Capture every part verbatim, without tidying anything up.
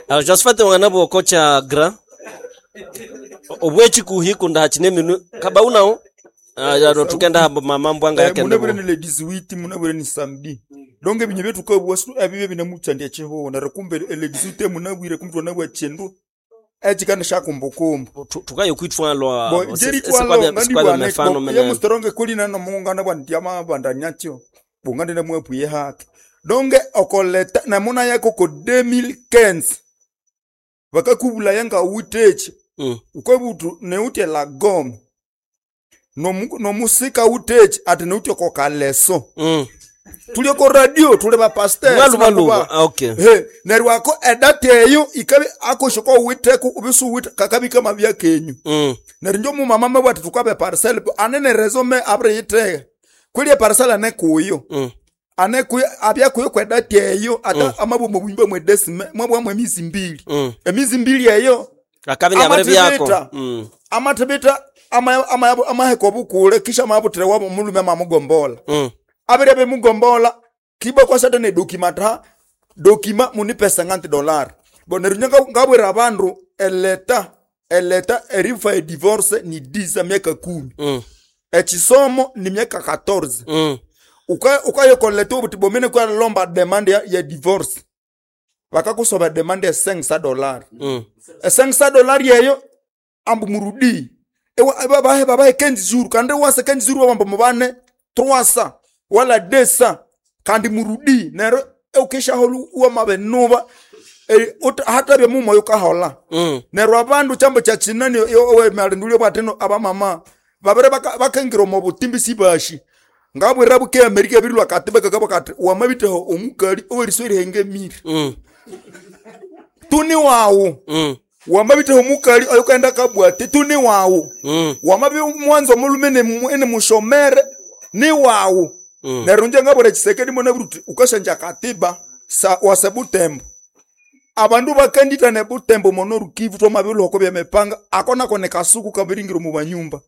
Alors Josephat wangana bwoko cha gra obwechikuhi kunda hachine minu kabaunao ah tukenda habo mama mbwanga Eh, yake munabwire ndebo ni le dix-huit, munabwire ni samedi. Donc ebinyo byetukabwa ebibyo binamutsandya chihuho neryo kumbe le dix-huit munabwire kumbe twanabwa chindu echikana shakumbukumbu. Tukayo kwitwalwa Bo njeritwalo mefano ngandibwana mene yemustoronge kulina nomungana bwa ndyama bandanyatyo bungandi namwepwiye hake. Donge okoleta namuna yako ko twenty fifteen bakakubula yanga utechi Mm. ukabutu neutye lagome nomu- nomusika utechi ati neutye kokaleso. Mm. Tuli ko radio, tuli bapasteur. Mwalubaluba, ah, okay. He, neryo ako edati eyo ikabi akoshoko witeku ubisu wite kakabika mabya kenyu. Mm. Neryo njo mumama mabwa ati tukabe parcel anene resume abri yitege kweli parcel ane kuyo. Mm. Ane kuyo abya kuyo kwedati eyo ata mm. Amabwa mubimba mwe desime mwabwa mwe mizi mbili. Mm. Emizi mbili eyo akabi nyabere byako. Amathibita. Mm. Amathibita ama- ama- amaheko obukule kisha amabutire wabo mulume mamugombola. Mm. Abire bemugombola kiba kwasata ne dokima ta dokima munipesa nganti dollar bo neryo nyenga ngabwera abandu eleta eleta erifa e divorce ni dix miaka kumi. Mm. Echisomo ni miaka quatorze. Mm. Uka ukayokoleta obuti bomene kwa lomba demande ya, ya divorce bakakusoba demande ya cinq cents dollar. Mm. E cinq cents dollar yeyo ambu murudi ewa babahe babahe quinze jours kandi wase quinze jours babamba mubane trois cents wala deux cents kandi murudi nero eukishaholu uwa mabenuba e, hatabye mumo yukahola. Mm. Neryo abandu chambo cha chinani owemalindulio bwatino abamama babere baka- bakengira omu butimbi sibashi ngabwira buke Amerika ebirilwa kati bakakabwa kati wamabiteho omukali oweriso erihenge miri. Mm. Tuni wawu. Mm. Wamabiteho omukali oyukaenda kabwate tuni wawu. Mm. Wamabi mwanzo omulume ene mushomere ni wawu. Mm. Neryo nje ngabwira Chisekedi mwene buruti ukashanja katiba sa wase Butembo abandu bakandita ne Butembo mono Rukivu twamabilhoko byemepanga akona kone kasuku kabiringiro mu banyumba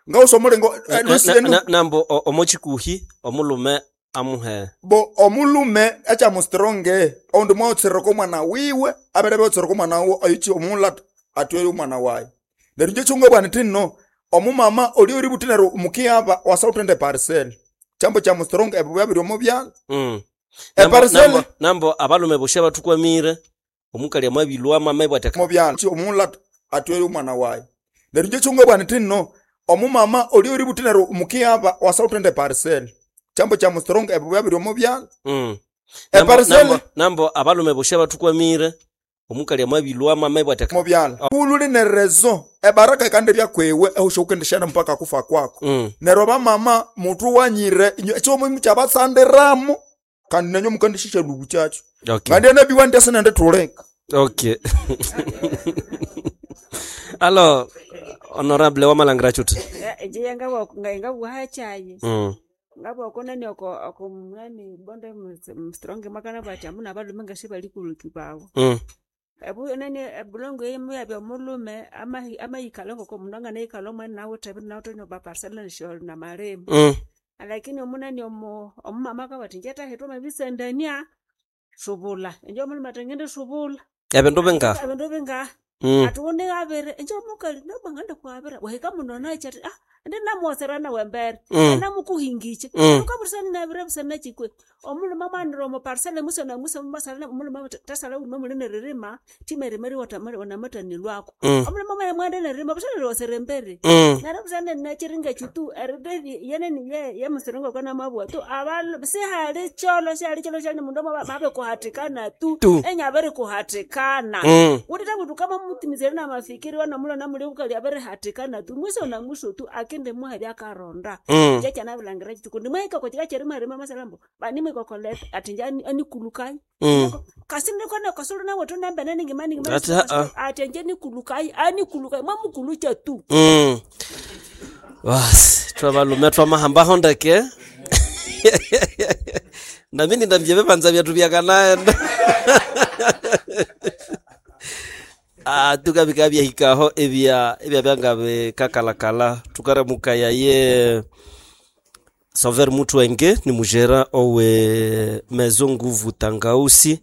ngausomolengo. Na- na- na- nambo o- omochikuhi omulume amuhe Bo omulume echamustronge oundi mwaotsireko omwana wiwe abere beotsireko omwana wiwe oyichi omula atwere omwana wayi. Neryo nje chunga bwana tinno omumama oli ori buti neryo mukiaba wasautende parcel chambo cha mustrong ebyo byabiri omu byalo. Mm. Nambo, Eparcel nambo, nambo abalume boshe batukwamire omukali amabilwa mama ibwate mu byalo omula atwere omwana wayi. Neryo nje chunga bwana tinno omumama oli ori buti neryo mukiaba wasautende parcel chambo cha mustrong ebyo byabiri omu byalo. Mm. Nambo, Eparcel nambo, nambo abalume boshe batukwamire omukali amabilwa mama ibwate mu byalo kululi ne rezo ebaraka ikande byakwewe ehusha mpaka kufa kwako. Mm. Neryo bamama mutu wanyire ekyomuhimu kyabatsandiramu kandi nenyo mukandishisha lubu kyakyo. Okay. Ngandi enabiwa ndyasinende tuleka. Ok. Alors, honorable Wamalangra Chut. Nje ngabwa chayi. Mm. Ngabwa nani oko oko nani bonde mstronge makana bati amuna abalume ngasi bali kuluki bawo. Mm. Ebu nani ebulongo yemu yabya mulume ama amayikalo ngoko mundu anganayikala omwana nawe tabi nawe tonyo ba parcel na na maremu. Mm. Lakini omunani omo omumama akabati nje tahitwa mabisendania subula enje omulume ati ngende subula. Ebindu binga. Ebindu binga. Mm. Ati une abere enje omukali nabanganda kwabera wahika muno nachi ati ah ndi namuwoserana wembere. Mm. Namukuhingiche. Mm. Ukabusana nabire busana chikwe omulume mwanira omu parcel muso na muso masala omulume tasala ume mulene ririma timerimeri watamari wanamatanilwako. Mm. Omulume mwana mwanda nerima busana riwosere mbere. Mm. Nara busana nachiringa chitu eride yene ye ye musiringo kana mabwa tu abalu sihali cholo sihali cholo shali mundu mabe kuhatikana tu. Tu. Enyabere kuhatikana. Mm. Utita kuti kama mutimizere na mafikiri wana mulo na muli ukali abere hatikana tu mwiso na mwiso tu akende muha byakaronda. Mm. Nje kyanabilangira chitu kundi mweka kochika cherima rima masalambo bani mweka koleta ati nje ani- anikulukai. Mm. Kasinde kwana kasulu na watu namba nani ngimani ngimani. Ati, ha-a. Ati nje nikulukai anikulukai mwamukulucha tu. Mm. Basi twabalume twamahamba hondeke nami ndambye bebanza byathu byakanaenda ah tukabika byahikaho ebya ebya byanga bikakalakala tukaramuka ye Sauveur Mutwenge ni mujera owe Maison Nguvu Tangausi.